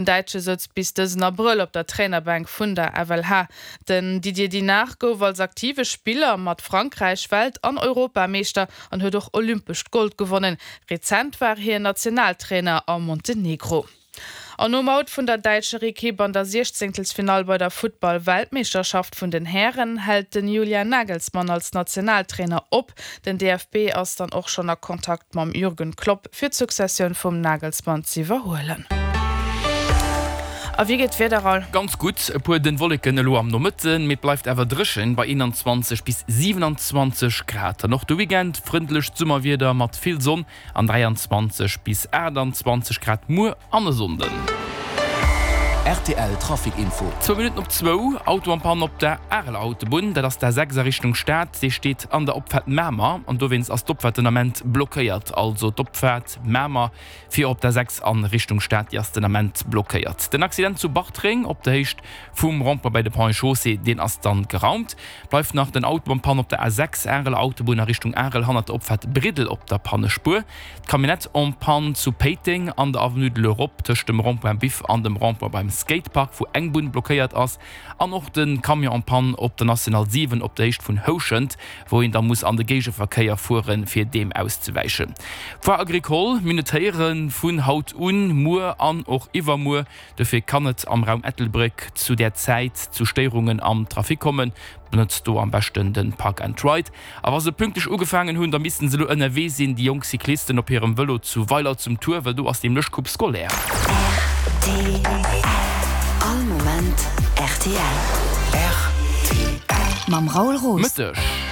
Den Däitsche souz bis dësen Abrëll op der Trainerbänk vun der FLH. Den Didier Dinart gouf als aktive Spiller mat Frankräich Welt an Europameeschter an huet och olympescht Gold gewonnen. Rezent war hien Nationaltrainer a Montenegro. An nom Out vun der däitscher Ekipp an der Siechzéngtelsfinall bei der Futtball-Weltmeeschterschaft vun den Hären hält den Julian Nagelsmann als Nationaltrainer op. Den DFB ass dann och schonn a Kontakt mam Jürgen Klopp, fir d'Successioun vum Nagelsmann z'iwwerhuelen. A wéi geet d'Wieder, Raoul? Ganz gutt, e puer dënn Wolleken elo am Nomëtten, mee et bleift awer dréchen bei 21 bis 27 Grad. An och de Weekend frëndlecht Summerwieder mat vill Sonn an 23 bis 28 Grad muer an e Sonnden. Rtl Trafic Info. Zwou Minutten op zwou, Auto en Panne op der Areler Autobunn, dat ass d'A6 a Richtung Stad. Dee steet an der Opfaart Mamer an dowéinst ass d'Opfaart den Ament blockéiert. Also d'Opfaart Mamer fir op d'A6 a Richtung Stad, déi ass den Ament blockéiert. Den Accident zu Bartreng op der Héicht vum Rond-point bei de Ponts et Chaussées, deen ass dann geraumt. Bleift nach den Auto en Panne op der A6 Areler Autobunn a Richtung Arel hannert der Opfaart Briddel op der Pannespuer. D'Camionnette en panne zu Péiteng an der Avenue de l'Europe tëscht dem Rond-point Biff an dem Rond-point beim Skatepark, wou eng Bunn blockéiert ass. An och de Camion en panne op der National 7 op der Héicht vun Houschent, wou een da muss an de Géigeverkéier fueren, fir deem auszewäichen. Foire Agricole, mir notéiere vun haut un, muer an och iwwermuer. Dofir kann et am Raum Ettelbréck zu där Zäit zu Stéierungen am Trafic kommen. Benotzt do am beschten de Park and Ride. A wa se pünktlech ugefaangen hunn, da missten se elo ënnerwee sinn, déi jonk Cyclisten op hirem Vëlo zu Weiler zum Tour, well do ass nämlech Coupe scolaire. Rtl, All Moment rtl. Rtl. Mam Raoul Roos. Mëtteg.